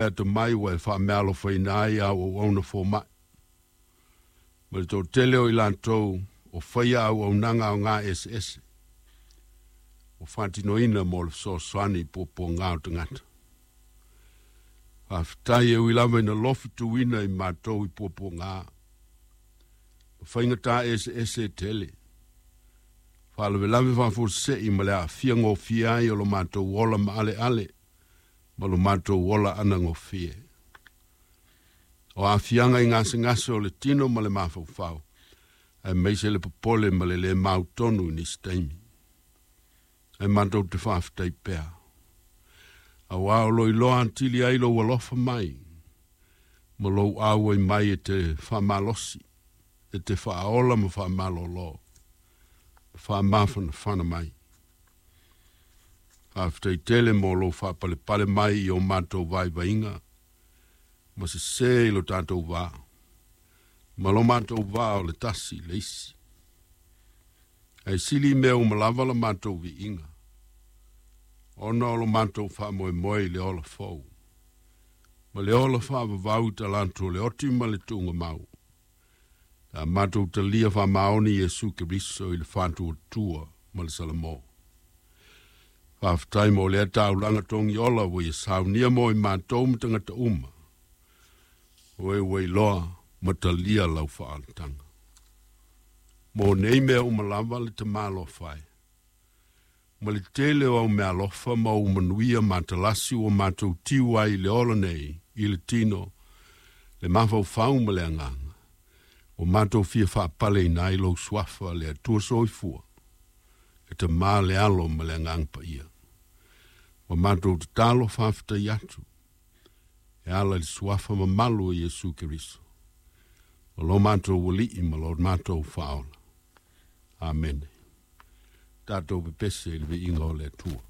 Atamai ua e faameaalofaina ai a auauna fomaʻi ma le toatele o i latou o faia auaunaga aogā eseese ua faatinoina mo le fesoasoani i puapuagā o tagata. Faafetai e ui lava ina lofi tuuina i matou i puapuagā ma faigatā eseese e tele, faalavelave faafuasei ma le aafia gofie ai o lo matou ola maaleale ma lo matou ola anagofie. O aafiaga i gasegase o le tino ma le mafaufau, aemaise le popole ma le lē mautonu i nisi taimi. Ae matou te faafetai pea. Auā o lo o iloa atili ai lou alofa mai ma lou auai mai e te faamalosi, e te faaola ma faamalōlō, ma faamafanafana mai. Faafetai tele mo lou faapalepale mai i o matou vaivaiga ma sesē i lo tatou va, ma lo matou va o le tasi i le isi. Ae sili i mea uma lava la matou viiga, ona o lo matou faamoemoe i le ola fou, ma le ola faavavau i talaatu o le oti ma le tuugamau, pe a matou talia faamaoni Iesu Keriso i le faatuatua ma le Salamo. Faafetai mo lea taulaga togiola ua ia saunia mo i matou ma tagata uma, o e ua iloa ma talia lau faaolataga. Mo nei mea uma lava le Tamā alofa e, ma le tele o au meaalofa ma ou manuia matalasi ua matou tiu ai i le ola nei i le tino, le mafaufau ma le agaga, ua matou fia faapaleina ai lou Suafa le Atua Soifua, le Tamā, le Alo ma le Agaga Paia. Ua matou tatalo faafetai atu e ala i le Suafa mamalu o Iesu Keriso, o lo matou Alii ma lo matou Faaola. Amene. Tatou pepese i le viiga o le Atua.